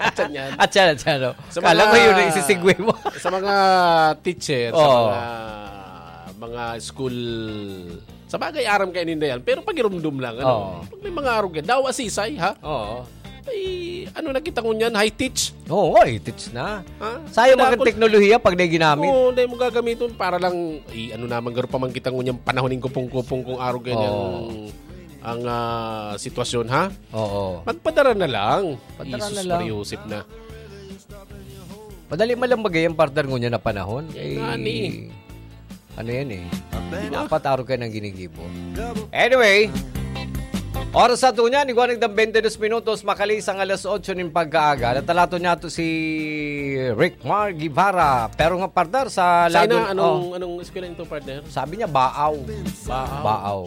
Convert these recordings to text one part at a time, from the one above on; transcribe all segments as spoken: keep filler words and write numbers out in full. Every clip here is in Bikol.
Atyan yan. At siya, at siya, no? Sa Kala mga, ko yun ang isisigway mo. Sa mga teacher, sa Oo. mga, mga school, sa bagay, aram kayo ninda yan. Pero pagirumdum lang, ano? Oo. Pag may mga arog yan, dawa sisay, ha? Oo. Ay, ano na kita ngunyan? High teach? Oo, high teach na. Ha? Sayang Kaya mga ako teknolohiya pag di ginamit. Oo, dahil mo gagamitin para lang, i-, ano naman, garo pa man kita ngunyan panahon ng kupong-kupong kung arog yan Oo. yung, ang ah, sitwasyon, ha? Oo. Magpadara na lang. Padara Jesus na lang. Maria Josep na. Madali man lang bagay ang partner ngunyan na panahon. Yan Eh, nga ni. ano yan eh. Dapat araw kayo ng ginigibo. Anyway, oras sa ito niya, igwa nagdang twenty-two minutos, makalisang alas otso nin pagkaaga. Natalato niya to si Rick Mar Guevara. Pero nga partner, sa Sa lagon- ina, anong, oh. anong eskwela ito, partner? Sabi niya, Baaw. Baaw. Baaw.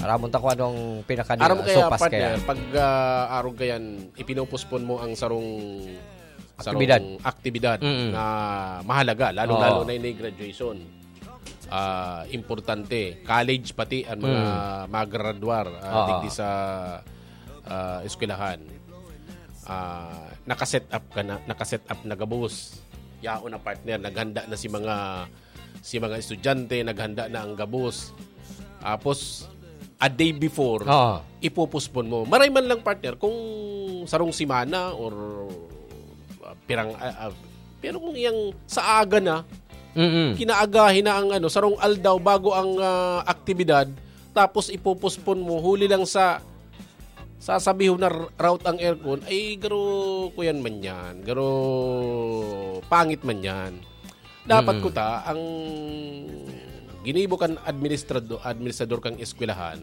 Aramon ta kung anong pinaka Aram mo kaya, sopas partner, kaya. pag ah, arog kayan, ipinopospon mo ang sarong, sarong Aktibidad. aktibidad Mm-mm. na mahalaga, lalo-lalo Oo. na yung graduation. Ah, importante. College pati ang mga Mm. magradwar, ah, Oo. digdi sa ah, eskwelahan. Ah, nakaset up ka na, nakaset up na gabos. Yaon na, partner, naghanda na si mga si mga estudyante, naghanda na ang gabos. Tapos, a day before, Oo. ipopospon mo. Maray man lang, partner, kung sarong semana or ah, pirang ah, ah, pero kung iyang sa aga na, Mm-mm. kinaagahin na ang ano, sarong aldaw bago ang ah, aktibidad, tapos ipopospon mo, huli lang sa sasabihon na r- route ang aircon, ay garo kuyan man yan, garo pangit man yan. Dapat Mm. kuta ang ginibo kan administrado, administrador kang eskwelahan,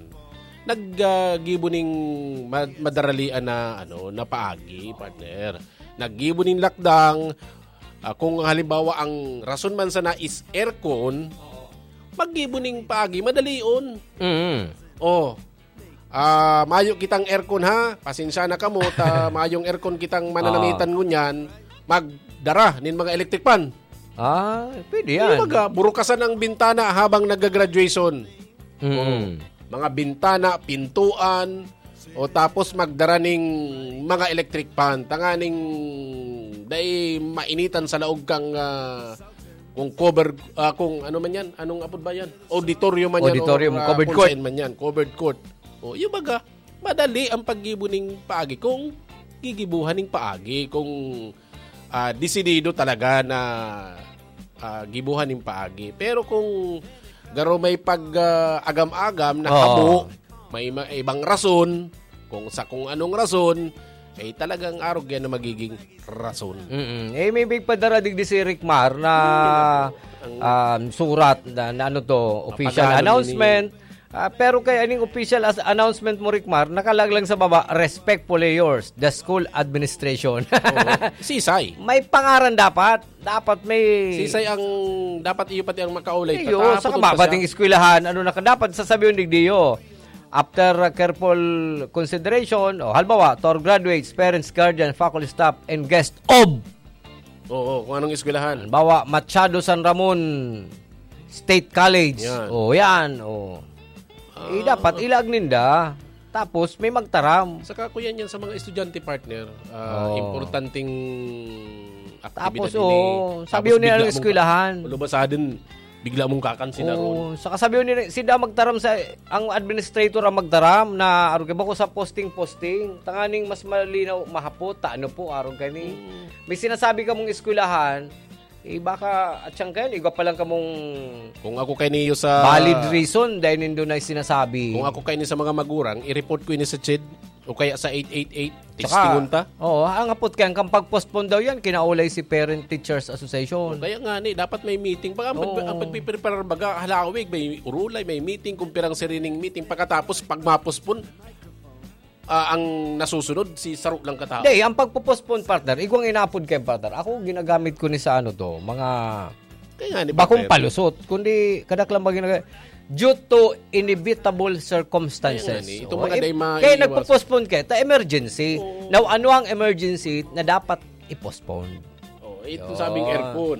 naggibo ning ma- madaralian na ano, na paagi, partner. Naggibo ning lakdang, ah, kung halimbawa ang rason man sana is aircon, maggibo ning paagi, madalion. Mm. Oh, ah, mayo kitang aircon, ha? Pasensya na kamo, ta mayong aircon kitang mananamitan Ah. ngunyan, magdara nin mga electric fan. Ah, pwede yan. Yung mga burukasan ang bintana habang nag-graduation. Mm. Oh, mga bintana, pintuan, o tapos magdara ning mga electric fan. Tanganing dai mainitan sa laog kang, ah, kung cover, ah, kung ano man yan, anong apod ba yan? Auditorium man yan, Auditorium, o, ah, covered kung court. saan man yan, covered court. O, yung baga, madali ang paggibo ning paagi kung gigibuhan ning paagi, kung, ah, desidido talaga na, ah, gibuhan ning paagi. Pero kung garo may pag, ah, agam-agam na Oo. habo, may ma- ibang rason, kung sa kung anong rason, ay talagang arog yan na magiging rason. Mm-mm. Eh, may big padara digdi si Rick Mar na, Ang um, surat na, na ano to, official Mapagano announcement. Ah, pero kay aning official as announcement mo, Rick Mar, nakalaglag sa baba, "Respectfully yours, the school administration." Oo. Sisay. May pangaran dapat. Dapat may Sisay ang dapat iyo pati ang makaulay. Iyo, Tatapos sa pa kababating siya. eskwelahan, ano na ka, dapat sasabihin digdiyo. After uh, careful consideration, o halimbawa, to our graduates, parents, guardian, faculty staff, and guest of Oo, kung anong eskwelahan. Halimbawa, Machado San Ramon State College. Yan. O, yan. O. Eh, Ah. dapat ilag ninda. Tapos, may magtaram. Saka, kuya, yan sa mga estudyante, partner, ah, Oo. importanteng aktibidad Tapos, ini. oo, sabi Tapos, yun nila bigla ng mong eskwelahan. Lubasadin, bigla mong kakansilaron. Oo, saka sabi yun nila, sila magtaram sa, ang administrator ang magtaram na, arog kay bako sa posting-posting. Tanganing mas malinaw, mahapot, ta ano po, arog kani. Mm. May sinasabi ka mong eskwelahan, eh, baka, at siyang kayo, igwa pa lang kamong Kung ako kay Neo sa valid reason, dahil nindo na sinasabi. Kung ako kay ni sa mga magurang, i-report ko ini sa CHED o kaya sa eight eight eight, Tsaka, testingon ta. Oo, ang hapot kaya, ang pag-postpone daw yan, kinaulay si Parent Teachers Association. O, kaya nga ni, dapat may meeting. Baka ang pag-, Oo. ang pagpipreparar baga, halawig, may urulay, may meeting, kung pirang sirining meeting. Pagkatapos, pag ma-postpone, ah, ang nasusunod, si saro lang katao. Hindi, ang pagpo-postpone, partner, igwang inapod kayo, partner. Ako, ginagamit ko ni sa ano to, mga Kaya nga ni, bakong partner. palusot, kundi kadaklang mga ginaga-, due to inevitable circumstances. Kaya nga ni, itong O, mga eh, day maiwas. kaya nagpo-postpone kayo, ta emergency. Oo. Now, ano ang emergency na dapat i-postpone? Oh, ito Yun. sabing aircon.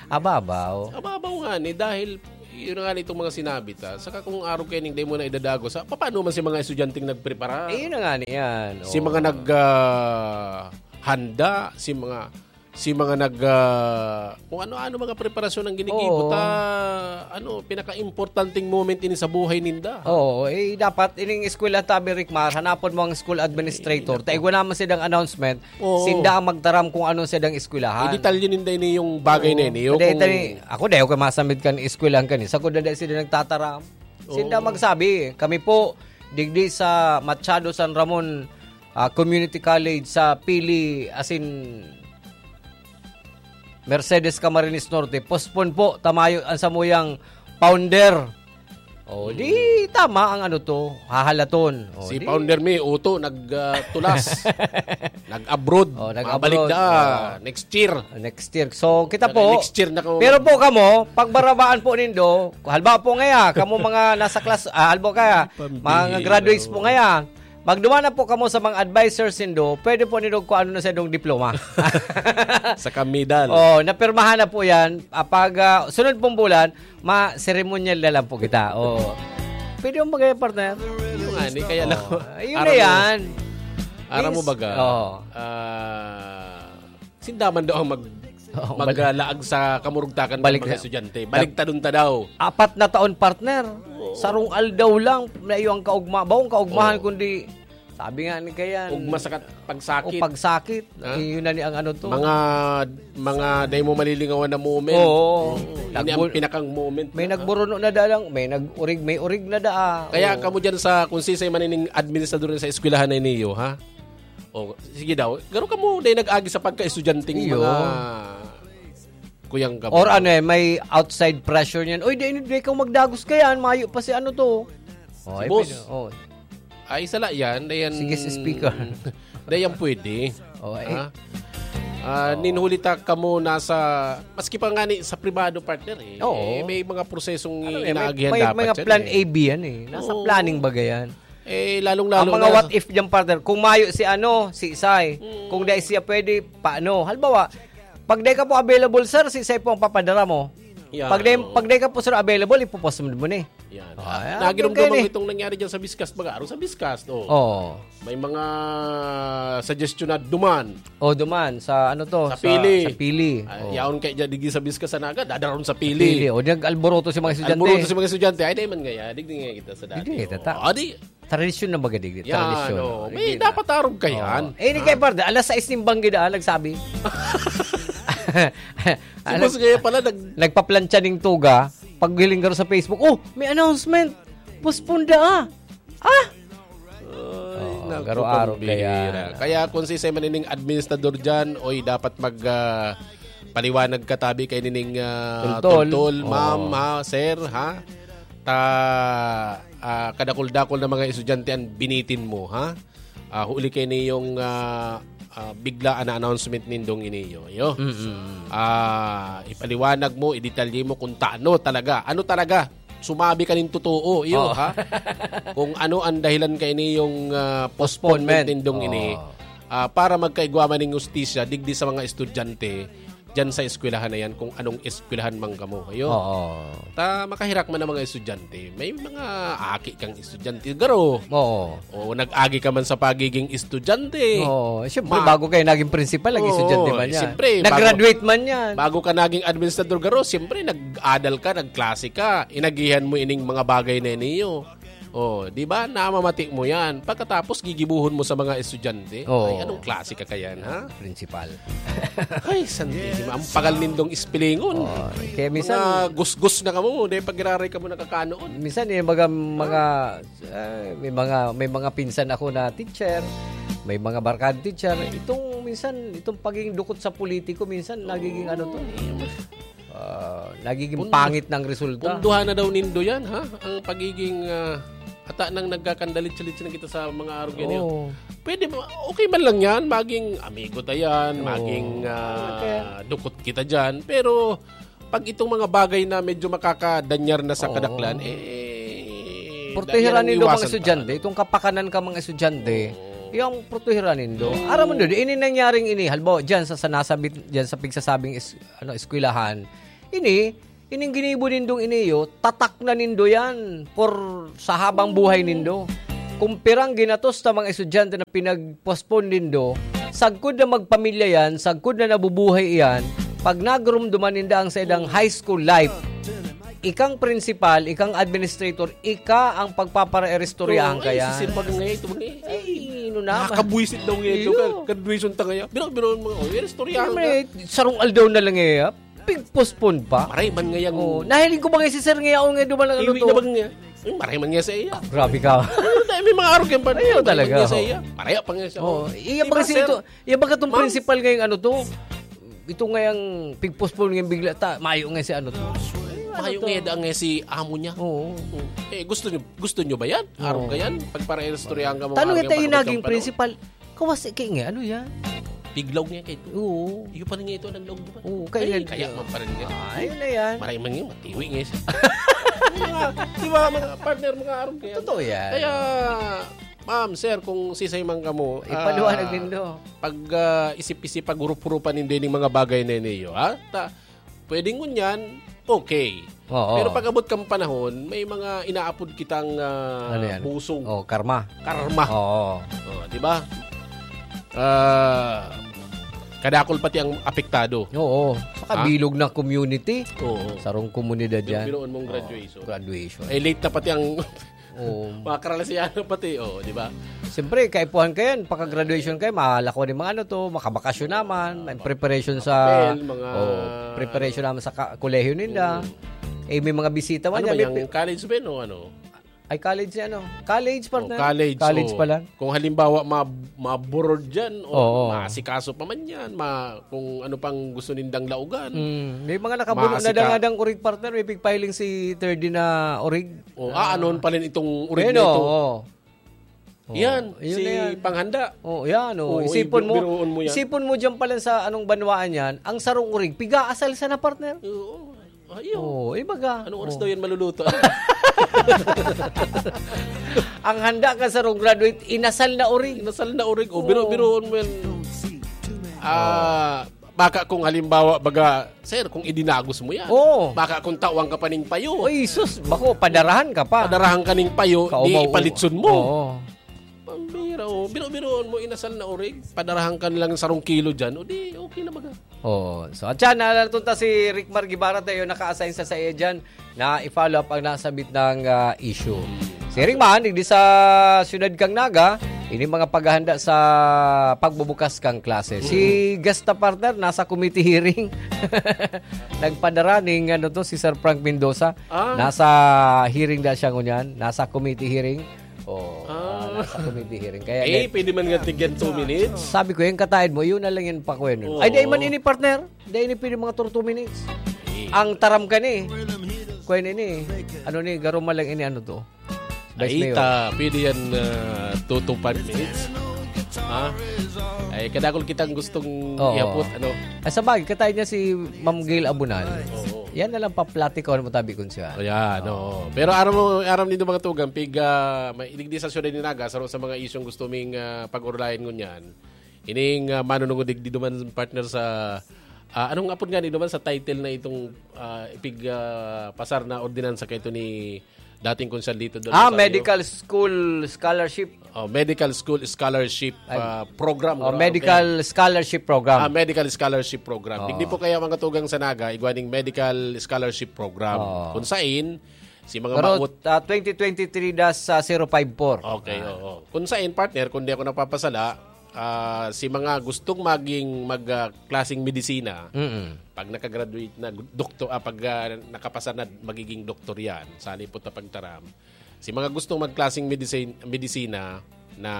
Ababaw. Ababaw nga ni, dahil Yun na nga nitong mga sinabi ta. Saka kung araw kayo ning dahil mo na idadago sa, paano man si mga estudyanteng nagprepara? Eh, yun na nga niyan. Si Oo. mga nag, ah, handa, si mga, si mga nag, ah, kung ano-ano mga preparasyon ang ginigibo Oo. ta, ano, pinaka-importanting moment ini sa buhay ninda. Oo, eh, dapat ining eskwela tabi, Rick Mar, hanapon mo ang school administrator. Ay, naku. Ta igwa naman silang announcement, Oo. sinda ang magtaram kung ano sa dang eskwelahan. Idetalye ninda ini yung bagay na Oo. ini, yung Kaya kung tani, ako, dahil ko masamit kan eskwelahan kani, sa kuda dahil sila nagtataram. Sinda Oo. magsabi, kami po, digdi sa Machado San Ramon, ah, Community College sa Pili, as in, Mercedes Camarines Norte, postpone po, tamayo ang samuyang founder. Oh, di Mm. tama ang ano to, hahalaton. Oh, Si di founder mi, Uto, nag, ah, tulas. Nag-abroad. Oh, nag-abroad. Mabalik na. Oh. Next year. Next year. So, kita Pero po, next year na kamo pero mag- po kamo, pagbarabaan po nindo, halba po ngaya, kamo mga nasa class, ah, halba kaya, Pambihira, mga graduates po oh. ngaya, magduman na po kamo sa mga advisors nindo, pwede po nindo kung ano na sa inyong diploma. Sa kamidal. Oh, napirmahan na po yan. Ah, pag, ah, sunod pong bulan, ma-ceremonial na lang po kita. Oh. Pwede mong bagay, partner? Yung ani, kaya lang. Oh, yun Aram na mo. yan. Aram mo Is- baga? Oh. Ah, sindaman daw ang mag-, Oo, mag-, balik. ah, laag sa kamurugtakan ng Balik mga na. estudyante. Tag- Baligtadon ta daw. Apat na taon, partner. Oo. Sarong aldaw lang, na iyong kaugma-, bawang kaugmahan, Oo. kundi, sabi nga ni Kayan, Ugma sa kat-, pagsakit. o pagsakit. Ha? Yun na ni ang ano to. Mga, mga dahil mo malilingawan na moment. Oo. Oo. Ini ang Nagbul-, pinakang moment may na, ha? nagburuno na da lang, may nag-urig, may urig na da, ah. Kaya Oo. kamo dyan sa, kung sisay manining administrador sa eskwelahan na iniyo, ha? O, sige daw. Garo kamo, dahil nag-agi sa pagka-estudyanteng Iyo. mga kuyang kamo. Or ano eh, may outside pressure niyan. Uy, di, di ikaw magdagos ka yan. Mayo pa si ano to. Oh, Si ay, boss. pwede. Oh. Ay, sala yan. Dayan, Sige, si speaker. dayan pwede. Oh, eh. Ha? Ah, Oo. ninhuli ta kamo nasa, maski pa nga ni sa pribado, partner, eh. Oo. Eh, may mga prosesong Ano eh, may, inaagihan may, dapat may mga yan, plan eh. A B yan eh. Nasa Oo. planning baga yan. Eh, lalong-lalo Ang mga na what if dyan, partner, kung mayo si ano, si Isay, Mm. kung dai siya pwede, paano? Halimbawa, pag dai ka po available, sir, si Isay po ang papadara mo. Yan, Pag dai, oo. pag dai ka po, sir, available, ipopostpone mo ni. Yan. Oh, Ah, yan, naginom ganyan duman eh. itong nangyari dyan sa Biskas, baga, araw sa Biskas, oh. Oo. May mga suggestion na duman. Oh, duman, sa ano to? Sa Sa, Pili. sa Pili. Ah, Oh. yaon kay dyan, digi sa Biskas sa Naga, dadaron sa Pili. Pili. O, nag-alboroto si mga estudyante. Alboroto si mga estudyante. Ay, di man ngaya, digdi nga kita sa dati. Digdi nga kita, Oh, ta. ah, di, Tradisyon na baga digdi, Yan, tradisyon. oh. May Digdi na. dapat arog ka yan. Oh. Eh, ini Ha? kay Parda, alas sais ning banggi daan, nagsabi. Si Alas boss kaya pala nag- Nagpaplantsa ning tuga, paghiling garo sa Facebook, "Oh, may announcement! Postpone da, ah!" Ah! Ay, Oh, naku, garo arog pambihira. kaya. Kaya kung si Simon ining administrador dyan, oy, dapat mag, ah, paliwanag ka tabi kay nining, ah, Tultol. Tultol, ma'am, Oo. ha, sir, ha? Ta, ah, kadakul-dakul na mga estudyante ang binitin mo, ha? Ah, huli kay niyong, ah, ah, bigla na announcement nindong iniyo, yo. Mm-mm. Ah, ipaliwanag mo, idetalye mo kung taano talaga. Ano talaga? Sumabi ka ning totoo, iyo, Oo. ha? Kung ano ang dahilan kay niyong, ah, postponement Postponement. nindong ini, Oo. ah, para magkaigwa man ning hustisya digdi sa mga estudyante diyan sa eskwelahan na yan, kung anong eskwelahan man kamo, iyo. Oo. Ta makahirak man ang mga estudyante. May mga aki kang estudyante, garo. Oo. O nag-agi ka man sa pagiging estudyante. Oo. Siyempre, Ma- bago kayo naging principal, naging Oo, estudyante man eh, yan. siyempre, bago Nag-graduate man yan. bago ka naging administrador, garo, siyempre, nag-adal ka, nagklase ka, inagihan mo ining mga bagay na niyo. Oh, di ba? Namamati mo yan. Pagkatapos, gigibuhon mo sa mga estudyante. Oo. Ay, anong klase ka kayan, ha? Principal. Ay, sandihima. Ang pagal nindong ispilingon. Oo, kaya minsan Mga gusgus na kamo. Dahil pag-iraray kamo nakakanoon. Minsan, eh, mga, mga, eh, may mga, may mga pinsan ako na teacher, may mga barkada teacher. Itong minsan, itong pagiging dukot sa politiko, minsan nagiging ano to, ah, nagiging Pun-, pangit ng resulta. punduhan na daw nindo yan, ha? Ang pagiging, ah, ata nang nagkakandalit-salit na kita sa mga arog yan, yun. Oo. Pwede ba? Okay man lang yan. Maging amigo ta yan, Oo. maging, ah, Okay. dukot kita dyan. Pero pag itong mga bagay na medyo makakadanyar na sa Oo. kadaklan, eh, Protehiran yan ang nindo mga iwasan ta, estudyante, ano? itong kapakanan ka mga estudyante, Oo. yung protehiran nindo. Oo. Aram mo, Dodi, ini nangyaring ini, halimbawa, dyan sa, sa nasabit, dyan sa pigsasabing es-, ano, eskwelahan, ini, Ining ginibo nindong ini iyo, tatak na nindo yan for sa habang buhay nindo. Kung pirang ginatos ta mga estudyante na pinag-postpone nindo, sagkod na magpamilya yan, sagkod na nabubuhay iyan, pag nagrumduman ninda ang sa idang high school life, ikang principal, ikang administrator, ika ang pagpaparaeristoryahan ka Ay, yan. Sisir, baga ngayon, ito, baga ngayon. Ay, ino na. Nakakabwisit daw ngayon, Iyo. Ka-, graduation ta ngayon. Biro, biro, mga, oh, istoryahan Siyempre, ka. Sarong aldaw na lang eh, ah. Pig-postpone pa. Maray man ngayon. Oh, nahiling ko ba ngayon si Sir ngayon nga dumalang ano Iwi to? Na ba ngayon? Ay, maray man ngayon sa iya. Ah, grabe ka. Ano tayo, may mga arog yan pa. Ayaw Maray man talaga, ngayon sa oh. Iya. Maraya pa ngayon siya. Oh, iya Di ba, ba kasi sir? Ito, iya ba katong Ma'am. Principal ngayong ano to? Ito ngayang pig-postpone ngayong bigla ta, mayo ngayon si ano to? Mayo Ano to? Ngayon daan ngayon si amo niya. Oo. Eh, gusto niyo, gusto niyo ba yan? Arog Oo. Ka yan? Pagpara-istoryahan ka mo, Tanong arog ito yan, yung pag-abot naging kang panahon. Principal. Kawas, kaya nga, ano yan? Piglaw nga kayo. Oo. Iyo pa rin nga ito, naglaog di ba? Oo, kaya Ay, nga, kaya man pa rin nga. Ah, ayun na yan. Maray man nga, matiwi nga siya. Di ba, mga partner, mga arog kaya. Totoo yan. Kaya, ma'am, sir, kung sisay man kamo, Ipaliwanag ah, nindo. Pag, ah, isip-isip, pag-urup-urupan nindo yung mga bagay na yun, ha? Ta, pwedeng ngunyan, okay. Oo. Pero pag abot kang panahon, may mga inaapod kitang, ah, Ano yan? Busong. Oh, karma. Karma. Oo. Oh, di ba? Ah, kadakol pati ang apektado. Oo. Makabilog Ha? Na community. Oo. Sarong komunidad Yung yan. Binuon mong Oo. Graduation. Graduation. Eh, late na pati ang Oo. Mga karalasiano pati, oh, di ba? Siyempre, kaipuhan ka yan. Pagka-graduation kayo, malako ni mga ano to, makabakasyon naman, may preparation sa, Papel, mga oh, preparation naman sa ka-, kolehiyo ninda. Mm. Eh, may mga bisita man Ano ba yan, may yung pi- college ba yun o ano? Ay, college yan, ano? College, Oh, partner. College, College oh. Pala. Kung halimbawa, ma-, maburod dyan, o Oo. Maasikaso pa man yan, ma-, kung ano pang gusto nindang laugan. Mm. May mga nakabuno na Maasika- dangadang orig, partner. May pigpiling si third na orig. Oh, ah, Ah. Ano pala itong urig Ayun, na ito? Oo. Oo, Yan, yun si na yan. Panghanda. Oh, yan, oh. Oh, Isipon mo, biruon mo yan. Isipon mo dyan pala sa anong banwaan yan, ang sarong urig, piga-asal sana, partner. Oo. Ayun. Oh, ibaga. Anong oras Oh. Daw yan maluluto? Ang handa ka sarong graduate, inasal na urig. Inasal na urig. Oh, Oo. Biro-, biroon mo yan. Ah, Baka kung halimbawa, baga, "Sir, kung idinagos mo yan, Oo. Baka kung tawan ka pa ning payo, Oy, sus, bako, padarahan ka pa. Padarahan ka ning payo, Kaumaw-, di ipalitson mo." Oo. Pambira, oh. Biro-biroon mo, inasal na orig, padarahan ka nilang sarong kilo dyan, o di, okay na baga. Oo. So, at yan, nalatunta si Rick Mar Guevara tayo, naka-assign sa saya dyan. Na i-follow up ang nasabit na, ah, issue. Siring man, digdi sa siyudad kang Naga, ini mga paghahanda sa pagbubukas kang klase. Si Mm. Gasta partner, nasa committee hearing. Nagpadara ning, ano to, si Sir Frank Mendoza. Ah. Nasa hearing na siya ngunyan. Nasa committee hearing. Oh, Ah. ah, nasa committee hearing. Kaya Eh, yan. Pwede man nga tigyan two minutes. Sabi ko, yung kataid mo, yun na lang yung pakuha nun. Oo. Ay, di man ini, partner. Dai ni pwede mga thirty minutes. Eh. Ang taram ka ni. Kuya ni ni. Ano ni, garo man lang ini ano to? Vice Ay, Mayor. Ta, pwede yan, ah, two to five minutes. Ha? Ay, kadakol kitang gustong Oo. Ihapot, ano? Ay, sa bagay, katayin niya si Ma'am Gail Abunal. Oo. Yan na lang paplatikawan mo tabi kun siya. Ayan, oo. Pero aram mo, aram nindo mga tugang, pig, ah, may iligdi sa siyudad ni Naga, sa, sa mga isyong gusto ming, ah, pag-urulayan ngunyan. Ining, ah, manunungod digdi duman partner sa, ah, anong apod nga ni duman sa title na itong, ah, ipig, ah, pasar na ordinansa kay ito ni dating Consalito del Ah, Rosario? Medical School Scholarship. Oh, Medical School Scholarship, Ay. Ah, Program, Oh, ano, Medical ano, Scholarship Program. Ah, Medical Scholarship Program. Oh. Digdi po kaya mga tugang sa Naga, igwa ning Medical Scholarship Program. Oh. Kung sain, si mga Pero, maot- ah, twenty twenty-three dash zero five four. Okay, Ah. Oo. Kung sain, partner, kung di ako napapasala, ah, si mga gustong maging mag, ah, klaseng medisina, Mm. pag nakagraduate na, doktor, ah, pag, ah, nakapasa na, magiging doktor yan, sa halipot na pagtaram. Si mga gustong magklaseng medicine, medisina na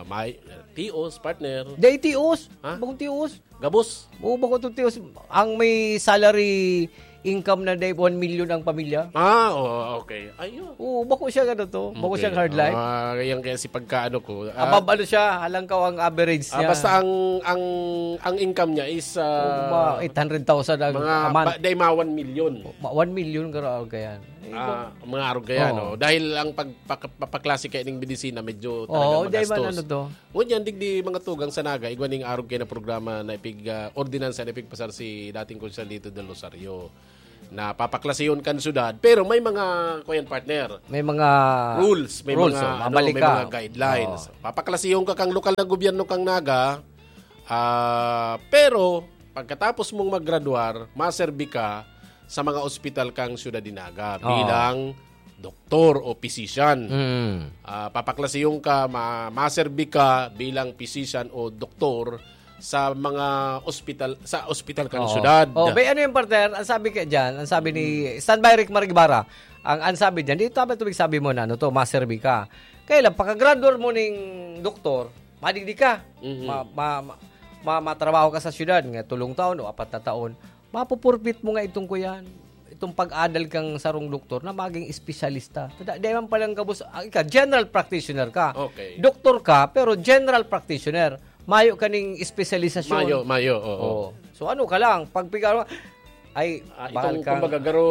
may, tios, partner. Day tios? Ha? Bakong tios? Gabos. Oo, bako to, tios. Ang may salary income na day one million ang pamilya. Ah, oo, okay. Ayun. Oo, bako siya ano to. Bako Okay. Siyang hard life. Ah, yan kaya si pagkaano ko. Ah, Abab ano siya, halangkaw ang average ah, niya. Basta ang, ang, ang income niya is, ah, Oo, mga eight hundred thousand ang mga a month. Ba, day mga one million. Ma-, one million garo-, garo yan. Eh, Ah, mga arog kaya, Oo. No? Dahil ang pag-, pag-, papaklase kaya ning medisina, medyo Oo, talagang di ba magastos. Ano to? Ngunyan, digdi mga tugang sa Naga, igwa ning arog kaya na programa na ipig, ah, ordinansa na ipigpasar si dating Konsyal Lito del Rosario. na papaklasihon kan syudad, pero may mga, kuyan, partner, May mga rules, may rules, mga, oh, ano, mabalik may ka. mga guidelines. Oo. Papaklasihon ka kang lokal na gobyerno kang Naga, ah, pero pagkatapos mong maggraduar, maserbi ka sa mga ospital kang syudad de Naga Oo. bilang doktor o physician. Mm. Ah, papaklasihon ka, ma- maserbi ka bilang physician o doktor sa mga ospital, sa ospital kang Oo. syudad. Oh, may ano yung partner? Ang sabi ka dyan, ang sabi ni Standby Rick Marigibara, ang, ang sabi dyan, dito tama ito sabi mo na ano to, maserbi ka. Kaya lang, pagka-graduate mo ning doktor, madigdi ka. Mhm. Ma, ma, ma, ma- matrabaho ka sa syudad, nga tulong taon o apat na taon, mapupurpit mo nga itong kuyan, itong pag-adal kang sarong doktor na maging espesyalista. Tada, di man palang gabos, ah, ika, general practitioner ka. Okay. Doktor ka, pero general practitioner. Mayo kaning espesyalisasyon. Mayo, mayo, oo. Oo. So ano ka lang, pag piga-, ay, Ah, bahal itong, kang kumbaga, garo,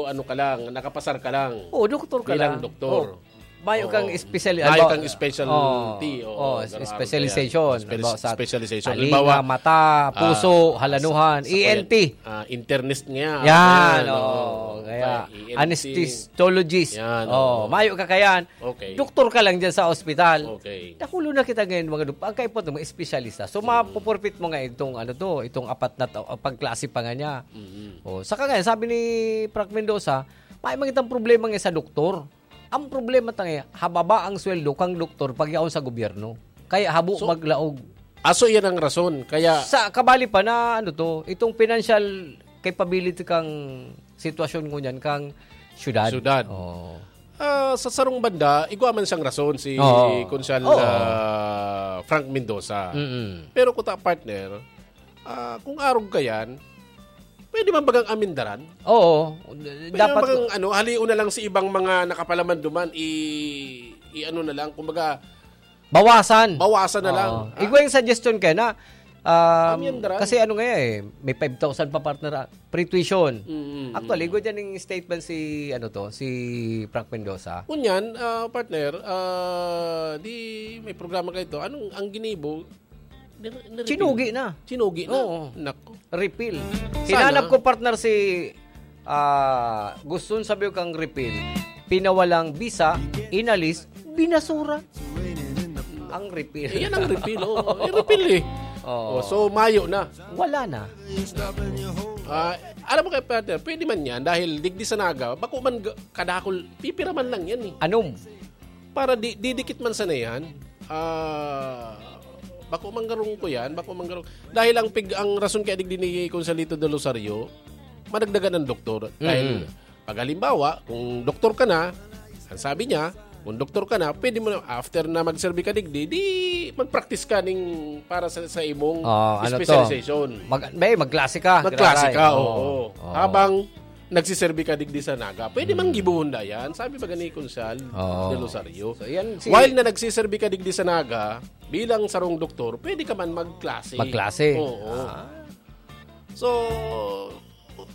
ano ka lang, nakapasar ka lang. Oo, doktor ka Bilang lang. doktor. Oo. Mayo Oo. kang special-, Mayo halimbawa, kang specialty. oo, Oo, oo, garo, specialization. yan. Speci- Halimbawa, sa specialization. talinga, Halimbawa, mata, puso, ah, halanuhan, sa- sa E N T. Ah, internist nga. Yan, Ayan, oo. oo. Kaya, E N T. anesthetologist. Yan, Oo, oo. mayo ka kayan. Okay. Doktor ka lang dyan sa ospital. Okay. Dakulo na kita ngayon, mga doktor. Ang kaipot ng mga espesyalista. So, mapupurpit mo nga itong, ano to, itong apat na tao, ang pagklase pa nga niya. Mhm. Oh, saka ngayon, sabi ni Frank Mendoza, may mga itang problema nga sa doktor. Ang problema ta ngayon, hababa ang sweldo kang doktor pag yaon sa gobyerno. Kaya habo So, maglaog. Aso yan ang rason. Kaya, Sa kabali pa na, ano to, itong financial capability kang sitwasyon ngunyan kang syudad. Syudad. Oh. ah, sa sarong banda, igwa man siyang rason si Oo. Konsehal Oo. ah, Frank Mendoza. Mm-mm. Pero kuta, partner, ah, kung arog ka yan, pwede man bagang amindaran? Oo. Pwede Dapat man bagang, ano, halion na lang si ibang mga nakapalaman duman, i, i ano na lang, kumbaga, bawasan. Bawasan na lang. Oo. Ah. Igwa yung suggestion kaya na, um, Amindaran. Kasi ano nga eh, may five thousand pa, partner, ah, free tuition. Mm, mm, Actually, mm. Igwa dyan yung statement si, ano to, si Frank Mendoza. Kunyan, ah, partner, ah, di may programa kayo to. Anong, ang ginibo? Nir- niripil. Chinugi na. Chinugi na. Oo. Nako. Repeal. Sana. Hinanap ko, partner, si ah, gusto sabi ko kang repeal. Pinawalang bisa, inalis, binasura. Ang repeal. Eh, yan ang repeal, oo. Eh, repeal eh. Oo. Oh, so, mayo na. Wala na. Ah, alam mo kaya, partner, pwede man yan dahil digdi sa Naga, bako man ga- kadakol, pipira man lang yan eh. Anong? Para di, didikit man sana yan, ah, bako man garong ko yan, bako man garong. Dahil ang pig, ang rason kaya digdi ni Consalito de Rosario, madagdagan ng doktor. Dahil, Mm. pag halimbawa, kung doktor ka na, ang sabi niya, kung doktor ka na, pwede mo na, after na magserbi ka digdi, di mag-practice ka ning para sa, sa imong Oh, ano to? specialization. Mag, may, magklase ka. Magklase ka, Graray. oo. Oo. Habang nagsisirbi ka digdi sa Naga. Pwede man Hmm. gibuhon na yan. Sabi ba ni Konsal Oo. de Rosario? So, yan si While na nagsisirbi ka digdi sa Naga, bilang sarong doktor, pwede ka man magklase. Magklase. Oo. Ah. So,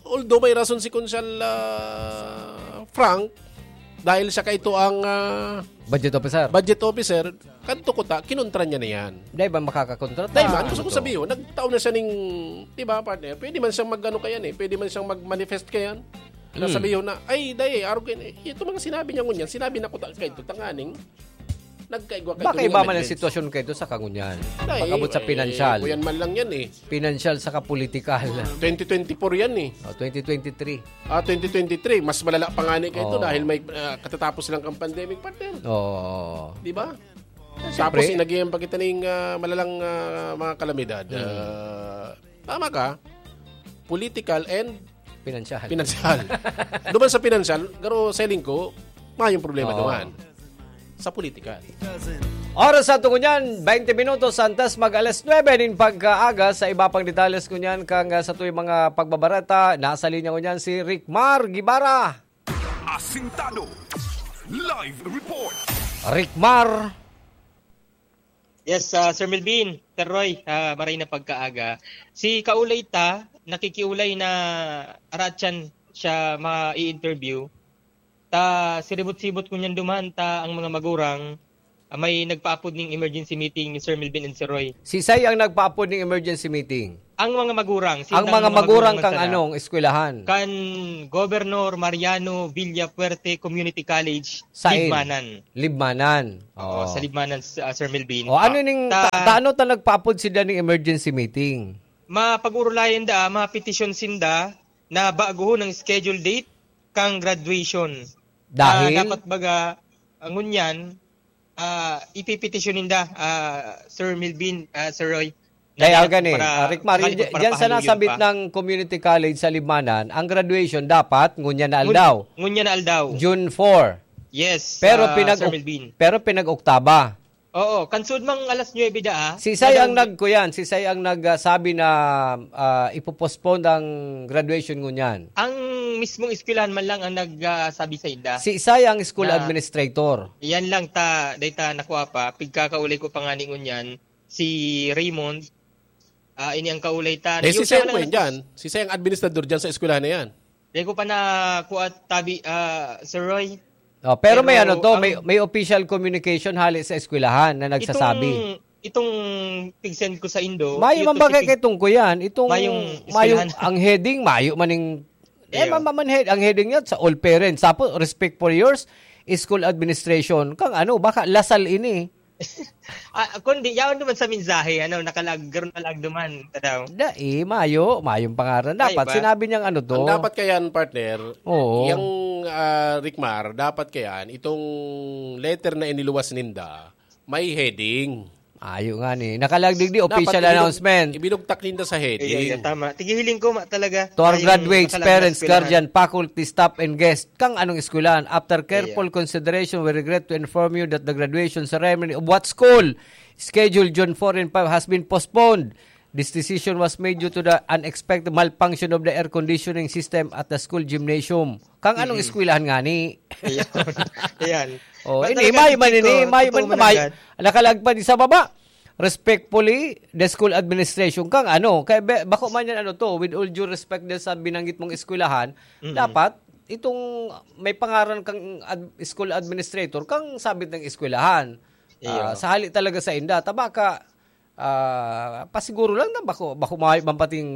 although may rason si Konsal ah, Frank, dahil siya kaito ang ah, Budget officer. budget officer, kanto ko ta, kinontra niya na yan. Dahil ba makakakontrata? Dahil man, gusto ko Ano to? sabihin, nagtao na siya ning, di ba, partner? Pwede man siyang mag-ano kayan eh. Pwede man siyang mag-manifest kayan. Na Hmm. sabihin na, ay, dahil, arog yan eh. Ito mga sinabi niya ngunyan, sinabi na ko ta, kaito, tanganing, nagkaigwa kaito Baka ning iba man ang amendments. Sitwasyon kaito sa kangunyan. Dahil, Pag-abot sa eh, pinansyal. Kuyan man lang yan eh. Pinansyal saka politikal. twenty twenty-four yan eh. O, twenty twenty-three. Ah, twenty twenty-three, mas malala pa nga ni kaito Oo. Dahil may ah, katatapos lang kang pandemic, partner. Oo. Di ba? Siyempre. Tapos, inagayan pa kita ning ah, malalang ah, mga kalamidad. Mm. Ah, tama ka, political and Pinansyal. Pinansyal. Duman sa pinansyal, garo selling ko, mayong problema Oo. duman. Sa political. Oras sa tungo niyan, twenty minutos antes mag alas nuebe nin pagkaaga. Sa iba pang detalles ko niyan, kang ah, sa tuwing mga pagbabareta, nasa linya ko niyan si Rickmar Gibara. Asintado. Live report. Rickmar. Yes, ah, Sir Melvin, Sir Roy, ah, maray na pagkaaga. Si Kaulay ta, nakikiulay na aratyan siya ma-interview. Ta siribot-sibot ko niyan duman ta ang mga magurang ah, may nagpaapod ning emergency meeting ni Sir Melvin and Sir Roy. Si Say ang nagpaapod ning emergency meeting. Ang mga magurang, Ang sindang mga mga magurang magurang man kang sana. anong eskwelahan? Kan Governor Mariano Villafuerte Community College, Sain? Libmanan. Libmanan. Oo, Oo. sa Libmanan, s-, ah, Sir Melvin. O, ano Ah, ning ta- ta-, taano ta nagpaapod sila ning emergency meeting? Mapag-urulayan da, mapetisyon sinda na baguhon ang schedule date kang graduation. Dahil? Ah, dapat baga, ah, ngunyan, ah, ipipetisyon ninda, ah, Sir Melvin, ah, Sir Roy. Kaya Dahil gani, para ah, Rick Mario, sakali di-, para diyan sa pahaluyon nasabit pa. ng community college sa Libmanan, ang graduation dapat ngunyan na Ngun-, aldaw. ngunyan na aldaw. June four. Yes, Pero ah, pinag-, Sir Melvin. pero pinag-oktaba. Oo, kansud mang alas nuebe da, ah. Si Say ang Madam nagkuyan, si Say ang nag, ah, sabi na, ah, ipo-postpone ang graduation ngunyan. Ang mismong eskwelahan man lang ang nag, ah, sabi sa inda. Si Say ang school Na administrator. Yan lang ta, dahil ta nakuha pa, pigkakaulay ko pa nga ni ngunyan, si Raymond, ah, ini ang kaulay ta. Eh, si Yung Say siya ang lang kuyan nag- dyan. Si Say ang administrador dyan sa eskwelahan na yan. Di ko pa nakuha tabi, ah, Sir Roy. Oh, pero may Pero ano to, ang may, may official communication hali sa eskwelahan na nagsasabi. Itong, itong pig-send ko sa Indo, Mayo yung man bagay specific kay tungko yan. Itong, mayong mayong eskwelahan. ang heading, mayo man ning, eh, Iyo. ma-, ma-, man head, ang heading niya sa all parents. Tapos, respect for yours, school administration. Kang ano, baka lasal ini. Ah, kundi, yaon naman sa mensahe, ano, nakalag-, garo nakalag duman, tadaw. Dai, mayo, mayong pangaran. Mayo Dapat ba? sinabi niyang ano to. Ang dapat kayan, partner, Oo. yung, ah, Rickmar, dapat kayan, itong letter na iniluwas ninda, may heading. Ayo nga ni. Nakalag digdi, Dapat official ibinug-, announcement. ibinugtak ninda sa heading. Iya, iya, tama. Tigihiling ko, ma, talaga. To our Ay, yung graduates, nakalag na parents, eskwelahan. guardian, faculty, staff, and guests. Kang anong eskwelahan? After careful Iya. consideration, we regret to inform you that the graduation ceremony of what school scheduled June four and five has been postponed. This decision was made due to the unexpected malfunction of the air conditioning system at the school gymnasium. Kang anong Mm-mm. eskwelahan nga ni? Ayan. Ayan. Oh, Ba, ini, talaga, may man Chico, ini, may totoo man, man may. agad. Nakalagpad sa baba. Respectfully, the school administration. Kang ano, kay be-, bako man yan ano to, with all due respect din sa binanggit mong eskwelahan, Mm-mm. dapat itong may pangaran kang ad-, school administrator, kang sabit ng eskwelahan. Iyo. Ah, sa hali talaga sa inda, tabaka, ah, pasiguro lang na bako, bako mayo man pating,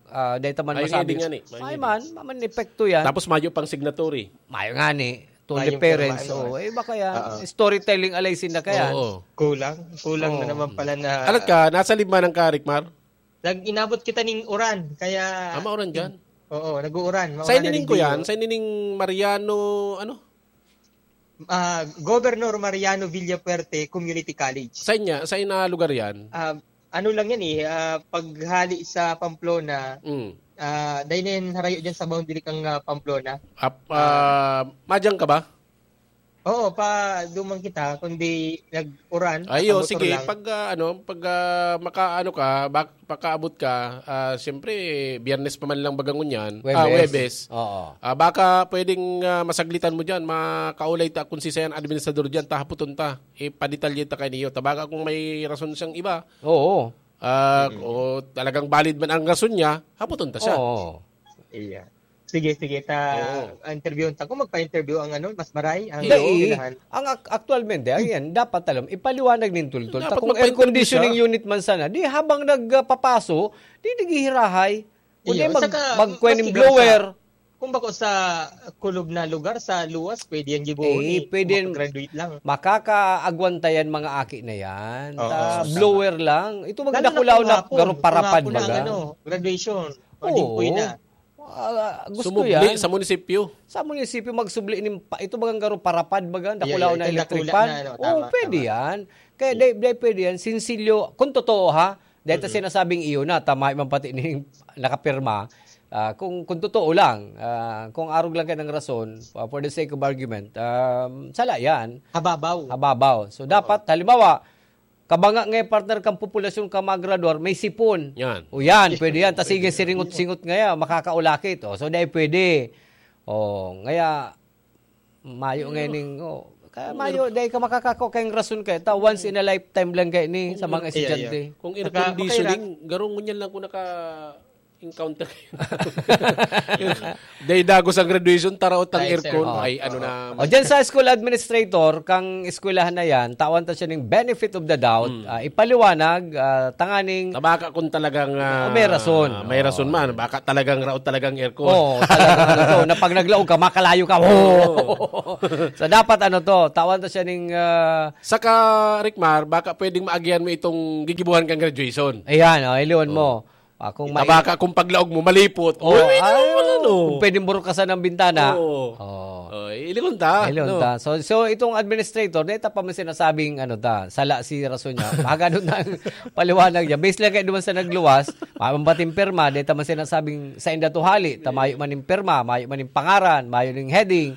ah, dahil ta man Ay, masabing, hindi nga ni. Ay, Ay, man, maman epekto yan. Tapos mayo pang signatory. Mayo nga ni. To the Mayong parents, pirma, ano, oh, eh, baka yan. Oo. Storytelling alay sinda kayan. Oo. Kulang. Kulang na Oo. naman pala na Alat ka, nasa lima ng ka, Rickmar? Nag-inabot kita ning uran, kaya Ah, mauran dyan? Oo, nag-uuran. Mauran Sa na inining rin ko yan, dito. sa inining Mariano, ano? Ah, Governor Mariano Villafuerte Community College. Sa inya, sa ina lugar yan? Ah, ano lang yan eh, ah, paghali sa Pamplona, Mm. ah, dahil na yan harayo dyan sa boundary kang, ah, Pamplona. Ap-, Ah. ah, madyang ka ba? Oo, pa duman kita, kundi nag-uran, Ayo, nakamotor sige, lang. pag, ah, ano, pag, ah, makaano ka, bak-, pakaabot ka, ah, siyempre, Biyernes pa man lang baga ngunyan. Ah, Huwebes. Huwebes. Oo. Ah, baka pwedeng, ah, masaglitan mo dyan, makaulay ta kung si Sayan administrador dyan, tahaputon ta. Ipaditalye ta kayo niyo. Tabaga kung may rason siyang iba. Oo. Ah, Mm. o talagang valid man ang rason niya, haputon ta siya. Oo. Iya. Sige, sige, ta Oo. interviewon ta. Kung magpa-interview ang ano, mas maray, ang Dai, eskwelahan. ang ak-, aktualmente, ayan, dapat alam, ipaliwanag nin tultol. Dapat Ta kung air magpa-interview conditioning siya. unit man sana, di habang nagpapaso, di naghihirahay. O di Iyo, mag-, saka, magkuha ning maski blower. sa, kung bako sa kulog na lugar, sa luwas, pwede yan gibuhon Eh, eh. pwede yan. Makagraduate lang. Makakaagwanta yan, mga aki na yan. Oo, Ta tama. blower lang. Ito, Lalo na magdakulaw kung na hapon. garo Kung parapad hapon na ang baga. ano, graduation. O Oo. jingkoy na. Ah, gusto Sumubli yan. sa munisipyo. Sa munisipyo, magsubli nin pa-, ito bagang garo parapad baga, Ayan, dakulaw ayan, na itong electric dakula fan. na, ano, Oo, tama, pwede tama. yan. Kaya Mm. dai, dai pwede yan. Sinsilyo, kung totoo ha, dahil ta Mm-mm. sinasabing iyo na, tama man pati ni nakapirma. Ah, kung, kung totoo lang, ah, kung arog lang kayo ng rason, ah, for the sake of argument, um, sala yan. Hababaw. Hababaw. So, Oo. dapat, halimbawa, kabanga nga partner kang populasyon ka magradwar, may sipon. Yan. O yan, pwede yan. Tas sige, siringot-singot ngaya, makakaulakit. O, so, dai pwede. O, ngaya, mayo Pero ngayon, o, kaya Pero mayo, dai ka makakako kayong rason kayo. Ta, once in a lifetime lang kayo ni, sa Kung mga ano, estudyante. Kung air Saka, conditioning, makaira- garong ngunyan lang kung naka, Encounter kayo. Day dagos ang graduation, taraot ang Ay, sir. aircon. Oh. Ay, ano na. O, dyan sa school administrator, kang eskwelahan na yan, tawan ta siya ng benefit of the doubt, Hmm. ah, ipaliwanag, ah, tanganing Tabaka kung talagang, ah, Oh, may rason. may rason Oo. man. Baka talagang raot talagang aircon. Oo, talagang ano to, na pag naglaog ka, makalayo ka. Oo. So, dapat ano to, tawan ta siya ng, ah, Saka, Rickmar, baka pwedeng maagihan mo itong gigibuhan kang graduation. Ayan, oh, iliwan mo. Oo. Ah, kung Ita mai- baka kung paglaog mo, malipot. Oh, Uy, ay, ano, ano? kung pwedeng burukasan ang bintana. Oo. Oh. Oh, ilingon ta, Ilingon no? ta. So, so, itong administrator, dahil ta pa man sinasabing, ano ta, sala si rason niya. Magano na ang paliwanag niya. Base lang kayo naman sa nagluwas, mambating pirma, dahil ta man sinasabing sa inda to hali, ta mayo man yung pirma, mayo man yung pangaran, mayo yung heading.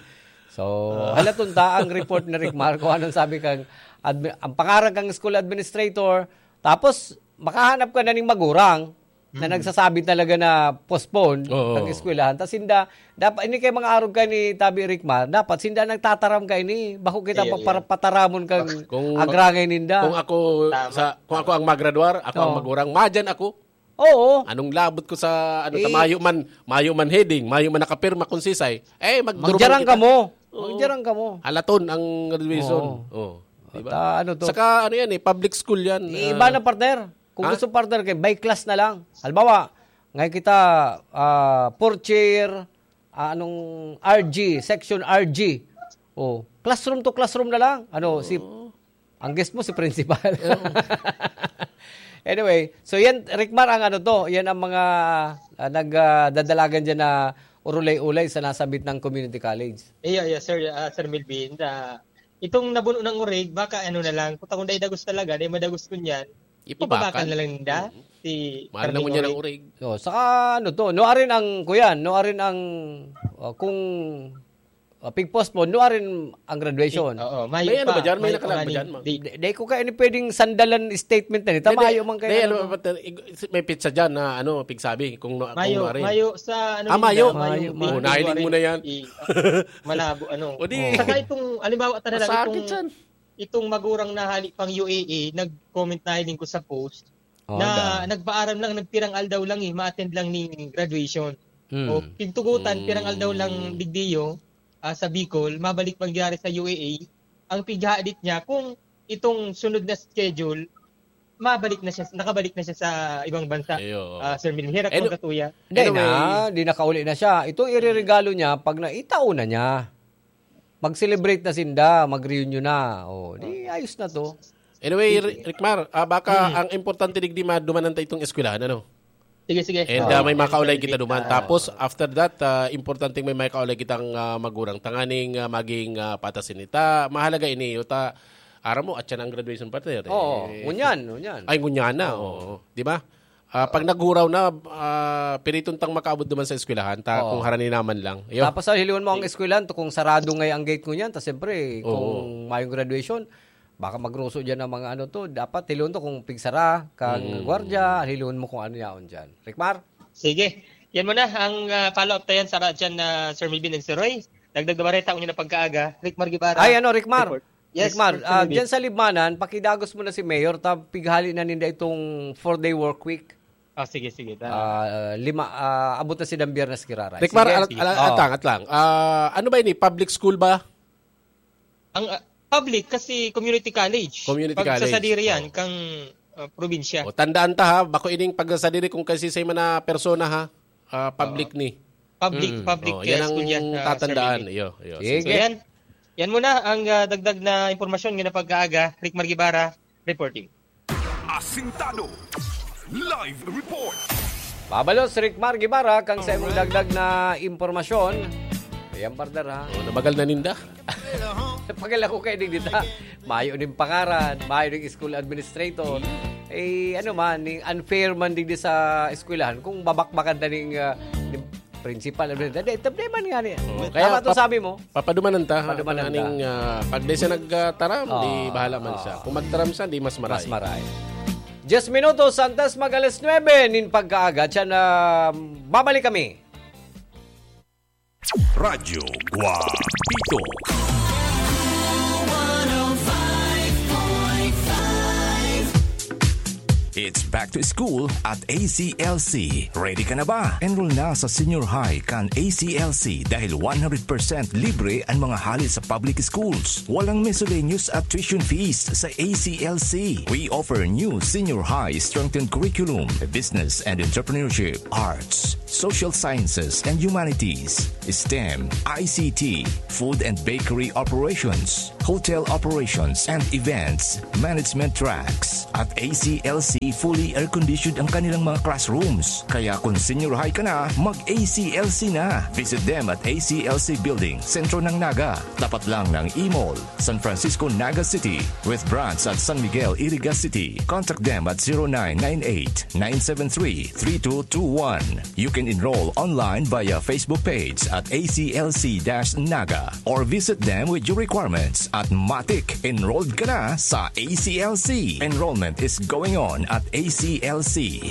So, Ah. halaton ta ang report ni Rick Mar, kung anong sabi kang admi-, ang pangaran kang school administrator, tapos makahanap ka na ning magurang na Mm. nagsasabi talaga na postpone Oo. ang eskwelahan. Tas sinda, dapat, ini kay mga arog ka ni Tabi Rick Mar, dapat sinda nagtataram ka ini, bako kita Iya, pa-, iya. para pataramon kang Kung ma-, agrangay ninda. kung ako Tama. sa, kung ako ang magradwar, ako ang Oo. magurang, madyan ako. Oo. Anong labot ko sa, ano, ta, Eh, mayo man, mayo man heading, mayo man nakapirma kung sisay, eh, magdurumang Magjarang kita. ka mo. Oo. Magjarang ka mo. Halaton ang graduation. Oo. Oo. Di ba? At, ah, ano to? Saka, ano yan eh, public school yan. Di, Ah. iba na, partner. Kung Ha? gusto, partner, kay by class na lang. Halimbawa, ngayon kita, ah, fourth year, ah, anong R G, section R G. Oh, classroom to classroom na lang. Ano, si Oo. Ang guest mo si principal. Oo. Anyway, so yan, Rick Mar, ang ano to, yan ang mga, ah, nag, ah, dadalagan dyan na urulay-ulay sa nasabit ng community college. Iyo, iyo, Sir, ah, Sir Melvin, ah, itong nabuno ng urig, baka ano na lang, kung takong dai dagos talaga, dai madagos kun yan, Ipabakan. ipabakan na lang ninda, Mm. si Mahal na karning ngunyan ang urig. urig. So, saka ano to, no arin ang, kuyan, no arin ang, oh, kung Ah, pig-postpone, no, arin ang graduation. Oo, mayo May ano pa, ba dyan? May mayo pa nakalag ba nga dyan, ning ma'am? date. Di, di ko kayo ni pwedeng sandalan statement na nito. Di, di, Mayo man kayo, di, ano ano, ba, ba, ig-, may pizza dyan na, ano, pigsabi, kung no, kung Mayo, ano rin. mayo sa, ano Ah, din mayo? na, mayo, Mayo, mayo. February. Oh, nailing mo na yan. I-, ah, malabo, ano. O di, Saka itong, halimbawa, talaga, masakit itong, yan. itong magurang na hali pang U A E, nag-comment na hiling ko sa post, Oh, na da. nagpaaram lang, nagpirang aldaw lang eh, ma-attend lang ning graduation. Hmm. O, pigtugutan, pirang aldaw lang Hmm. digdiyo, ah, sa Bicol, mabalik mangyari sa U A E. Ang pighadit niya, kung itong sunod na schedule, mabalik na siya, nakabalik na siya sa ibang bansa. Ayo. Ah, Sir Milhera, Ano? Katuya. Hindi Anyway. na, di nakauli na siya. Itong ireregalo niya, pag naitao na niya. Mag-celebrate na sinda, mag-reunion na. Oh, di ayos na to. Anyway, Sige. Ri-, Rickmar, ah, baka Mm. ang importante digdi madumanan ta itong eskwelahan, ano? Sige, sige. And, Oo. ah, may makaulay Sige, kita sige. duman. Ah. Tapos, after that, ah, importanteng may makaulay kitang, ah, magurang. Tanganing, ah, maging, ah, patas ini. Ta, mahalaga ini, ta, aram mo, at yan ang graduation party, eh. Oo, ngunyan, ngunyan. Ay, ngunyan na, Oo. oo. Di ba? Ah, pag naghuraw na, ah, piriton tang makaabot naman sa eskwelahan, ta Oo. kung harani naman lang. Iyo. Tapos, ah, hilingon mo ang Sige. eskwelahan, to kung sarado ngay ang gate ngunyan, ta siyempre, Oo. kung mayong graduation, baka magruso dyan ang mga ano to. Dapat hilingon to kung pigsara kang Mm. gwardiya, hilingon mo kung ano yaon dyan. Rickmar? Sige. Yan muna ang, ah, follow-up ta yan sa radyan na Sir Melvin and Sir Roy. Dagdag na bareta, unyo na pagkaaga. Rickmar Guevara. Ay, ano, Rickmar? Report. Yes, Rickmar, Sir ah, Melvin. dyan sa Libmanan, pakidagos mo na si Mayor, ta pighali na ninda itong four-day work week. Ah, sige, sige, ta. Ah, lima, ah, abot na si Dang Biyernes Kiraray. Rickmar, Sige. alat-, Sige. alat-, Oo. atang, atlang. Ah, ano ba ini? Public school ba? Ang, ah, public kasi community college. Community Pag sa college. sadiri yan, Oo. kang, ah, probinsya. O, tandaan ta ha, bako ining pagsasadiri kung kasisay man na persona ha, ah, public Oo. ni. Public, Mm. public, Oh, yan ah, ang school yan, ah, Sir tatandaan. Melvin. Iyo, iyo. Sige. So, Sige. yan. Yan muna ang, ah, dagdag na impormasyon ngayong pagkaaga. Rickmar Guevara, reporting. Asintado. Live report. Pabalo si Rickmar Guevara, kang sa imong Alright. dagdag na impormasyon. Ayan, partner, ha? Oh, namagal na ninda. Pagal ako kayo, digdi ta. Mayo ning pangaran, mayo ning school administrator. Eh, ano man, ning unfair man digdi sa eskwelahan, kung babakbakan ta ning, ah, ning principal, ano, hindi, problema nga niya. Oo, Tama kaya to pap-, sabi mo. papadumanan ta, ha? Padumanan Ang ta. aning, ah, pag di siya nagtaram, di Ah, bahala man ah. siya. Kung magtaram siya, di mas maray. Mas maray. Diyes minutos antes mag alas nuebe nin pagkaaga, siya na babalik kami. Radyo Guapito. It's back to school at A C L C. Ready ka na ba? Enroll na sa senior high kan A C L C dahil one hundred percent libre ang mga hali sa public schools. Walang miscellaneous at tuition fees sa A C L C. We offer new senior high strengthened curriculum, business and entrepreneurship, arts, social sciences and humanities, STEM, I C T, food and bakery operations, hotel operations and events management tracks. At A C L C, fully air-conditioned ang kanilang mga classrooms. Kaya kung senior high ka na, mag-A C L C na. Visit them at A C L C Building, sentro ng Naga. Tapat lang ng E-Mall, San Francisco, Naga City, with branch at San Miguel, Iriga City. Contact them at zero nine nine eight, nine seven three, three two two one. You can enroll online via Facebook page at A C L C dash Naga or visit them with your requirements at Matik. Enrolled ka na sa A C L C. Enrollment is going on at A C L C.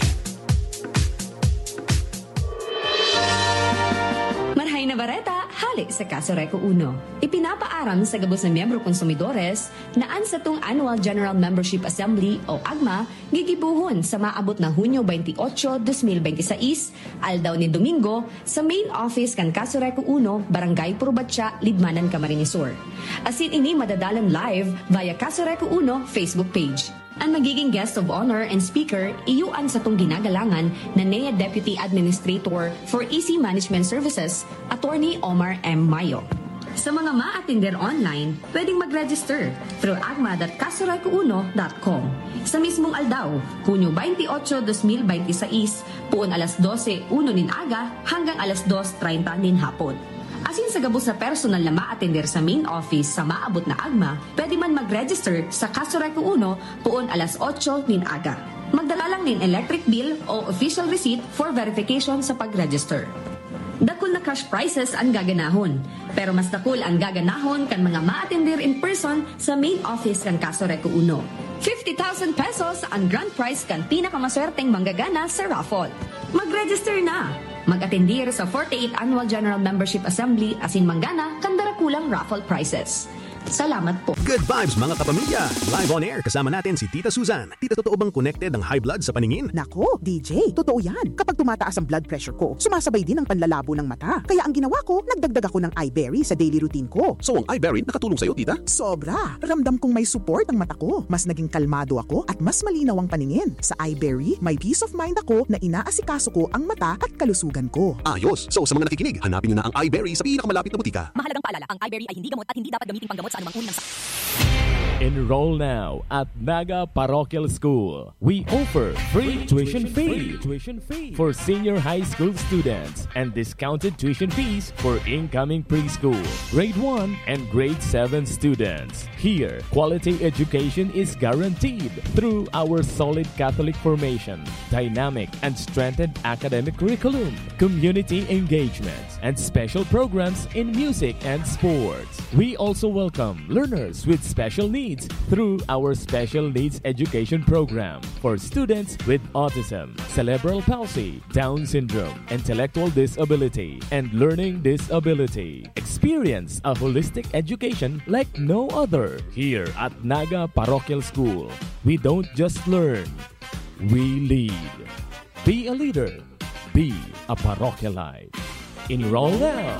Marhay na bareta, hale sa Kaso Reco Uno. Ipinapaaram sa gabos na miyembro konsumidores na an satong Annual General Membership Assembly o AGMA gigibohon sa maabot na Hunyo twenty-eight, twenty twenty-six, aldaw nin Domingo, sa main office kan Kaso Reco Uno, Barangay Purbatya, Libmanan, Camarines Sur. Asin ini madadalan live via Kaso Reco Uno Facebook page. An magiging guest of honor and speaker iyo an satong ginagalangan na N E A Deputy Administrator for E C Management Services, Attorney Omar M. Mayo. Sa mga maatender online, pwedeng mag-register through agma dot kasorecouno dot com. Sa mismong aldaw, Hunyo twenty-eight, twenty twenty-six, poon alas dose uno nin aga hanggang alas dos treinta nin hapon. Asin sa gabos na personal na maatender sa main office sa maabot na agma, pwede man mag-register sa Kaso Reco Uno poon alas otso nin aga. Magdala lang nin electric bill o official receipt for verification sa pag-register. Dakul na cash prizes an gaganahon, pero mas dakul an gaganahon kan mga maatender in person sa main office kan Kaso Reco Uno. Fifty thousand pesos an grand prize kan pinakamaswerteng manggagana sa raffle. Mag-register na! Mag-atendir sa forty-eighth Annual General Membership Assembly asin manggana kan darakulang raffle prizes. Salamat po. Good vibes, mga kapamilya! Live on air, kasama natin si Tita Susan. Tita, totoo bang connected ang high blood sa paningin? Nako, D J, totoo yan. Kapag tumataas ang blood pressure ko, sumasabay din ang panlalabo ng mata. Kaya ang ginawa ko, nagdagdag ako ng Iberry sa daily routine ko. So, ang Iberry nakatulong sa'yo, Tita? Sobra! Ramdam kong may support ang mata ko. Mas naging kalmado ako at mas malinaw ang paningin. Sa Iberry, may peace of mind ako na inaasikaso ko ang mata at kalusugan ko. Ayos! So, sa mga nakikinig, hanapin nyo na ang Iberry sa pinakamalapit na butika. Mahalagang paalala, ang Iberry ay hindi gamot at hindi dapat gamiting panggamot sa anumang uri ng sakit. Enroll now at Naga Parochial School. We offer free tuition fee for senior high school students and discounted tuition fees for incoming preschool, grade one, and grade seven students. Here, quality education is guaranteed through our solid Catholic formation, dynamic and strengthened academic curriculum, community engagement, and special programs in music and sports. We also welcome learners with special needs through our Special Needs Education Program for students with autism, cerebral palsy, Down syndrome, intellectual disability, and learning disability. Experience a holistic education like no other here at Naga Parochial School. We don't just learn, we lead. Be a leader. Be a parochialite. Enroll now.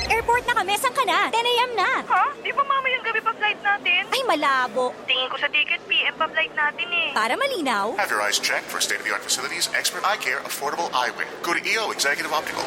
Airport na kami, saan ka na? ten a.m. na! Ha? Di ba mamayang gabi pa flight natin? Ay, malabo! Tingin ko sa ticket, P M pa flight natin eh. Para malinaw, Have your eyes checked for state-of-the-art facilities, expert eye care, affordable eyewear. Go to E O Executive Optical.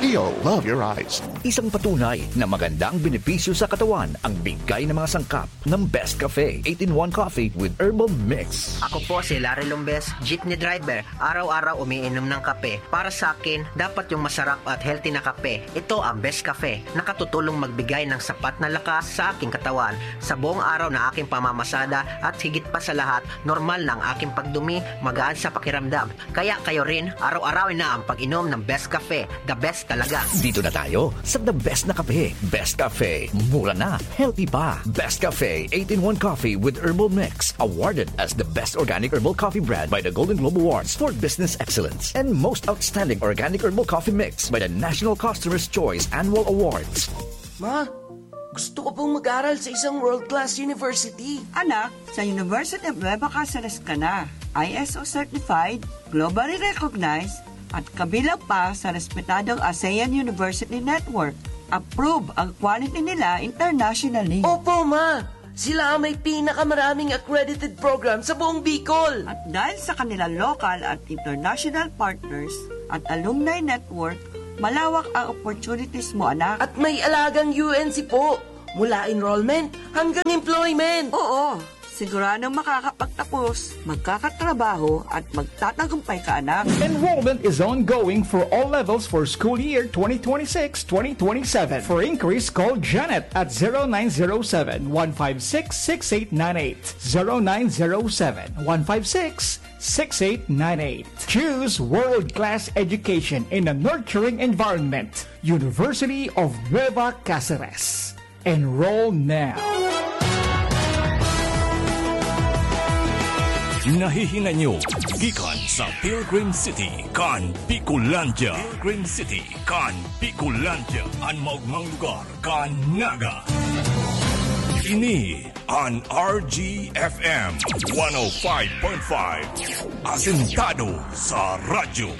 E O, love your eyes. Isang patunay na maganda ang benepisyo sa katawan ang bigay ng mga sangkap ng Best Cafe eight-in-one Coffee with Herbal Mix. Ako po si Larry Lombes, jeepney driver. Araw-araw umiinom ng kape. Para sa akin, dapat yung masarap at healthy na kape. Ito ang Best Cafe. Nakatutulong magbigay ng sapat na lakas sa aking katawan. Sa buong araw na aking pamamasada at higit pa sa lahat, normal na ang aking pagdumi, magaan sa pakiramdam. Kaya kayo rin, araw-arawin na ang pag-inom ng Best Cafe. The best talaga. Dito na tayo sa the best na kape. Best Cafe. Mura na, healthy pa. Best Cafe eight-in-one Coffee with Herbal Mix. Awarded as the best organic herbal coffee brand by the Golden Globe Awards for Business Excellence and most outstanding organic herbal coffee mix by the National Customer's Choice Annual Awards. Ma, Gusto ko pong mag-aral sa isang world-class university. Anak, sa University of Nueva Caceres ka na. I S O certified, globally recognized, at kabilang pa sa respetadong ASEAN University Network. Approve ang quality nila internationally. Opo, ma! Sila ang may pinakamaraming accredited program sa buong Bicol. At dahil sa kanilang local at international partners at alumni network, malawak ang opportunities mo, anak. At may alagang U N C po, mula enrollment hanggang employment. Oo, siguradong makakapagtapos, magkakatrabaho, at magtatagumpay ka, anak. Enrollment is ongoing for all levels for school year twenty twenty-six twenty twenty-seven. For inquiries, call Janet at zero nine zero seven, one five six, six eight nine eight. Zero nine zero seven, one five six, six eight nine eight. Choose world-class education in a nurturing environment. University of Nueva Caceres. Enroll now. Nahihingan nyo gikan sa Pilgrim City kan Bicolandia. Pilgrim City kan Bicolandia, an maogmang lugar kan Naga. Ini an R G F M one oh five point five, asentado sa radyo.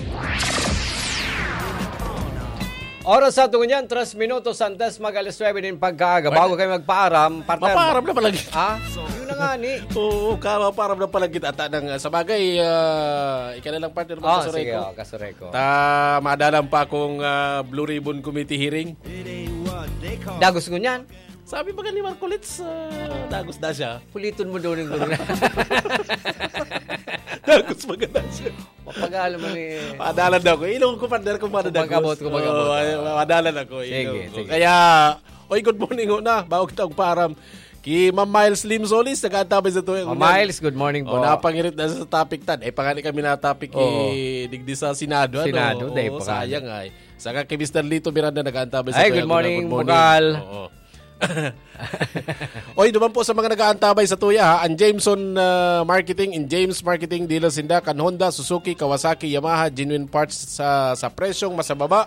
Oras sa tungo niyan, tres minutos antes mag alas nuebe nin pagkaaga. Bago kayo magpaaram, partner. Mapaaram na pala kita. Ah, yun na nga ni. Oo, ka, mapaaram na pala kita. Ata nang, ah, sa bagay, ah, ika na lang, partner, Ah, magkasuray sige, ko. Oh, kasuray ko. Ta, maadalan pa akong, ah, Blue Ribbon Committee hearing. Dagos ko niyan. Sabi pa ni Marcolits, ah, dagos na siya. Puliton mo daw ng guru na. Dagos maganda siya. Mapagalo man eh. Madalan ako. Ilong ko, partner, kung madalan Kung mag-abot, kung mag-abot, Oo, ah. ay, madalan ako. Sige, Ilong ko. sige. Kaya, oy, good morning, una. Bago kita magpaaram. Ki Ma'am Miles Lim Solis, nag-aantabay sa tuwing Ma'am unan. Miles, good morning Oh, po. napangirit na sa topic tan. Eh, pangani kami na topic Oo. eh, digdi sa Senado, ano? Senado, day Oo, pa sayang ay. Saka kay Mister Lito Miranda, nag-aantabay sa Ay, tuwing good unan. morning, Good morning. Bukal. Oo. Oy, duman po sa mga nag-aantabay sa tuya, ha, ang Jameson, ah, Marketing, in James Marketing, dealer sinda kan Honda, Suzuki, Kawasaki, Yamaha, genuine parts sa, sa presyong mas mababa.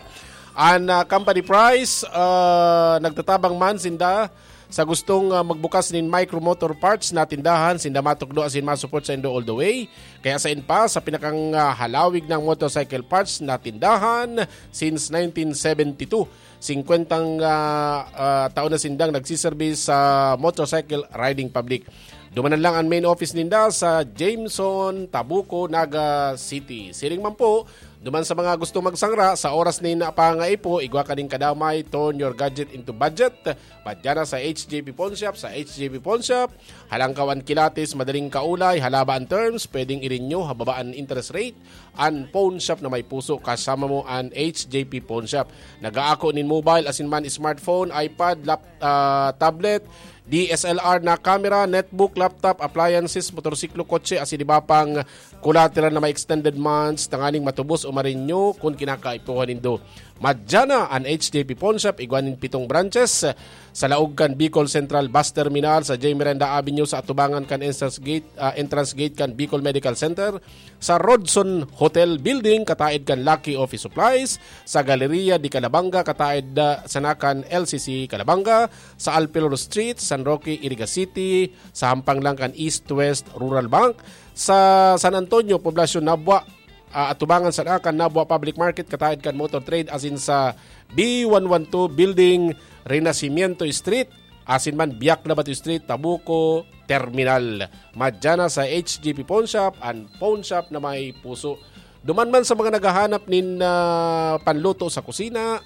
An, ah, company price, ah, nagtatabang man sinda sa gustong, ah, magbukas nin Micro Motor Parts na tindahan, sinda matukdo asin ma-support sa indo all the way. Kaya sa inpa, sa pinakang, ah, halawig ng motorcycle parts na tindahan since nineteen seventy-two. Singkwentang, ah, ah, taon na sindang nagsiserbi sa motorcycle riding public. Dumanan lang ang main office ninda sa Jameson, Tabuco, Naga City. Siring man po, duman sa mga gusto magsangra, sa oras nin pangaipo, igwa kaning kadamay, turn your gadget into budget. Madyana sa H J P Pawn Shop, sa H J P Pawn Shop, halangkaw an kilatis, madaling kaulay, halaba an terms, pwedeng i-renew, hababa an interest rate, an pawn shop na may puso, kasama mo an H J P Pawn Shop. Nagaako nin mobile, asin man smartphone, iPad, lap-, ah, tablet, D S L R na camera, netbook, laptop, appliances, motorsiklo, kotse, asin iba pang collateral na may extended months, tanganing matubos o ma-renew kun kinakaipuhan nindo. Madyana an H J P Pawn Shop, igwa nin pitong branches, sa laog kan Bicol Central Bus Terminal, sa J Miranda Avenue, sa atubangan kan entrance gate, ah, entrance gate kan Bicol Medical Center, sa Rodson Hotel Building, kataed kan Lucky Office Supplies, sa Galleria de Calabanga, kataed, ah, sana kan L C C Calabanga, sa Alpilor Street, San Roque, Iriga City, sa hampang lang kan East West Rural Bank, sa San Antonio, Poblacion, Nabua, ah, atubangan sana kan Nabua Public Market, kataed kan Motor Trade, asin sa B one one two Building, Renacimiento Street, asin man Biak Labato Street, Tabuco Terminal. Madyana sa H J P Pawn Shop, an pawn shop na may puso. Duman man sa mga naghahanap nin, ah, panluto sa kusina,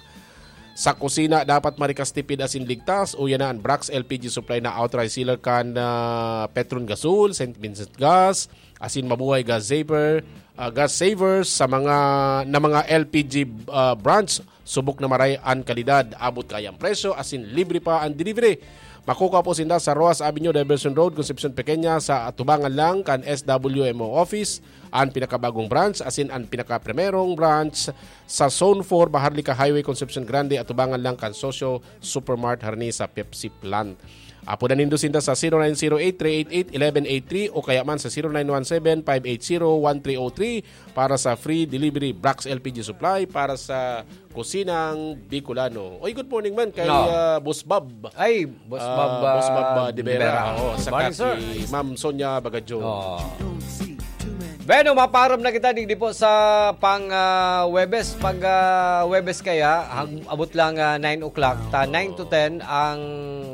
sa kusina dapat marikas, tipid asin ligtas. Uya na an Brax L P G Supply na authorized seller kan, ah, Petron Gasol, Saint Vincent Gas, asin Mabuhay Gas Saver, ah, Gas Savers sa mga, na mga L P G, ah, branch. Subok na maray an kalidad, abot kaya an presyo, asin libre pa an delivery. Makukuha po sinda sa Roas Avenue, Diversion Road, Concepcion Pequeña, sa atubangan lang kan S W M O office, an pinakabagong branch, asin an pinakaprimerong branch sa Zone four, Baharlica Highway, Concepcion Grande, atubangan lang kan Socio Supermart, harani sa Pepsi plant. Apodan nindo sinda sa zero nine zero eight three eight eight eleven eight three o kaya man sa zero nine one seven five eight zero one three oh three para sa free delivery. Brax L P G Supply para sa kusinang Bicolano. Oy, good morning man kay, No. ah, Boss Bob. Ay, Boss Ah, Bob, Boss Bob, ah, ah, de Vera. Vera. Oo, Good saka morning, sir. si Ma'am Sonia Bagajo. Oo. Bueno, maparam na kita digdi po sa pang, ah, Webes. Pag, ah, Webes kaya, hag-, abot lang, ah, nine o'clock. Ta nine to ten ang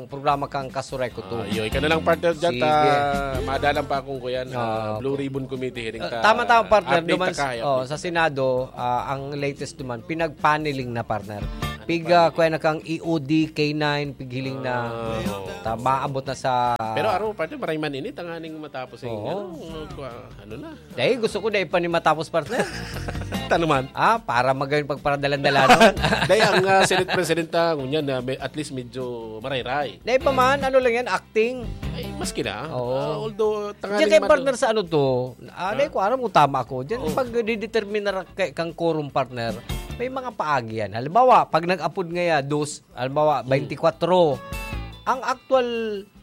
programa kang Kasureko two. Ah, yoy, ka na lang, partner, dyan, Sige. ta, madalang pa akong kuyan, ah, Ah, Blue Ribbon Committee hearing Ah, ta. tama-tama, partner. Update Duman ta s-, kaya, oh, update sa ta. Senado, ah, ang latest duman, pinag-paneling na, partner. Ano Pig, pa? ah, kuya na kang E O D, K nine, pighiling na. Ah, oo. Ta, maabot na sa Pero araw, partner, maray man ini, tanganing matapos yung, Oo. ano, kua-, ano na. Dahil gusto ko, dahil pa ni matapos, partner. Tanuman. Ah, para magayon pagparadalan-dalanon. Dahil ang, ah, Senate President, ah, ngunyan, ah, may, at least medyo marayray. Dahil pa man, ano lang yan, acting. Ay, maski na. Oo. Ah, although, tanganing Diyan kay man- partner sa ano to, ah, Huh? dahil ko aram kung tama ako. Diyan, Oo. pag dideterminar kay, kang quorum partner, may mga paagi yan. Halimbawa, pag nag-apod ngaya, dos, halimbawa, Hmm. twenty-four. Ang actual,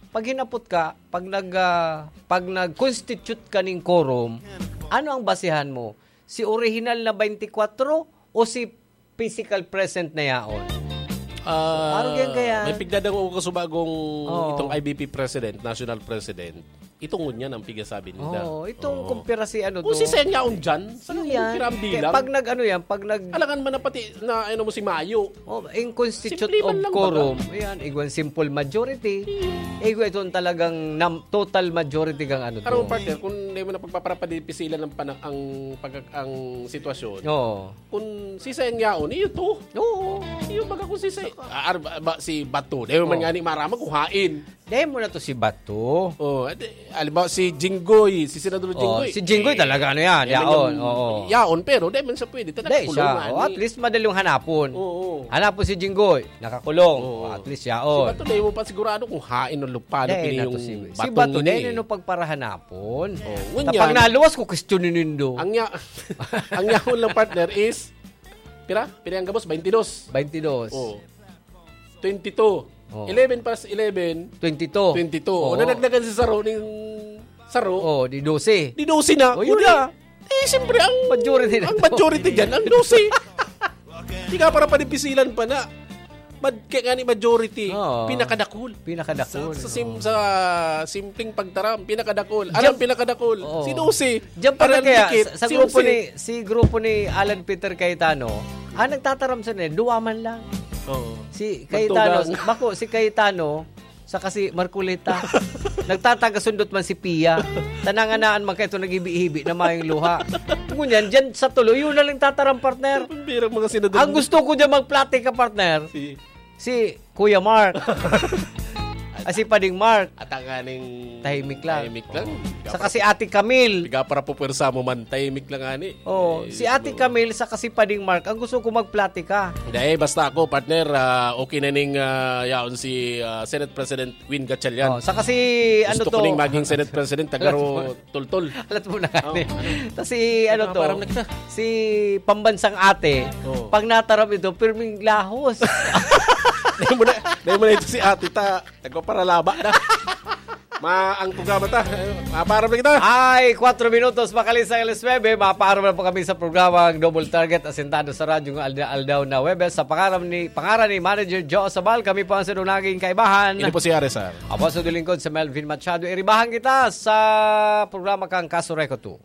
pag hinapot ka, pag nag, ah, pag nag-constitute ka ning quorum, ano ang basehan mo? Si orihinal na twenty-four o si physical present na yaon? Ah, Parang yan kaya. may pigdadang ako kasubagong Oo. itong I B P president, national president. Itong ngunyan ang pigasabi nila. Oo, itong Oo. kumpira si ano Kung to. si Seng Yaon dyan, sa Yun nang yan. kumpira ang Kaya bilang? pag nag-ano yan, pag nag- Alangan man na pati na, ano mo, si Mayo. Oh, in constitute Simple man of lang quorum. baga. Ayan, igwan simple majority. Hmm. Igwa itong talagang nam-, total majority kang ano Pero to. partner, kung di mo na pagpaparapadipisil ang pana-, ang pag-, ang sitwasyon, Oo. kung si Seng Yaon, iyo to. Oo. Iyo baga kung si Seng, ah, ar-, ba, si Bato. Di mo man Oo. nga ni marama kung hain. Dahil mo na to si Bato. Oh, adi, halimbawa si Jinggoy, si Senador Oh, Jinggoy. si Jinggoy Eh, talaga, ano yan, eh, yaon, man yung oo. yaon, pero dahil man siya pwede, talaga Dahil siya, kulungan oh, at eh. least madaling hanapon. Oo. Hanapon si Jinggoy, nakakulong. Oo. Oh, at least yaon. Si Bato, dahil mo pa sigurado kung hain o lupa na Dahil pini na to yung si, si Bato Bato, ni. dahil na pagparahanapon. Oh, Tapos ngunyan. pag naluwas ko, questionin nindo. Ang ya-, ang yaon lang, partner, is, pira? Pira ang gabos? Twenty-dos. Twenty-dos. Oh. Twenty-two. Oh. Eleven plus eleven, Twenty-two. twenty-two. Oo. O, nadagdagan si Saro ning Saro. Oh, di dose. Di dose na. Oh, yun Kuya, na. eh, siyempre, ang, Majority na ang to. majority dyan, ang dose. Di ka para panipisilan pa na. Mad-, kaya nga ni majority, Oo. pinakadakul. Pinakadakul, Sa, sa sim-, oo. sa simpleng pagtaram, pinakadakul. Diyan Alam, pinakadakul. Oo. Si dose. Diyan pa Ang na kaya, dikit, sa, sa si grupo Jose. ni, si grupo ni Alan Peter Cayetano, ang nagtataram sa nila, duwa man lang. Oo. Si Cayetano, Magtugang. bako, si Cayetano, saka si Marcoleta. Nagtatagasundot man si Pia. Tananganaan man kayo nag-ibi-ibi na mayong luha. Ngunyan, dyan sa tuloy, yun na lang tataram, partner. Ang birang mga senador. Ang gusto ko dyan magplatika, partner. Si Si Kuya Mark. Ah, si Pading Mark. At ang aning Tahimik lang. tahimik lang. Oo. Saka si Ate Camille. Piga para pupwersa mo man, tahimik lang ani. Oo, Eh, si Ate siguro. Camille saka si Pading Mark, ang gusto ko magplatika. Hindi, eh, basta ako, partner, ah, okay na ning, ah, yaon si, ah, Senate President Win Gatchalian. Oh, saka si, ano Gusto ko to? ning maging Senate President, taga Ro-, Tultol. Alat mo na Oh. gani. Tas si, ano Ano, to, parang nagsa- si Pambansang Ate, Oh. pag nataram ito, pirming lahos. Dahil mo na, dahil mo na ito si Ate ta, nagpaparalaba na. Ma, ang tuga ba ta? Eh, maparam na kita. Ay, kwatro minutos, makalis ang alas nuebe, maparam na po kami sa programang Double Target, asentado sa radyo ng alda-, aldaw na Webes. Sa pangaran ni, pangaran ni Manager Joe Sabal, kami po ang sinunaging kaibahan. Ini po si Ares, sir. Ako sa lingkod sa Melvin Machado. Iribahan kita sa programa kang Kasureko two.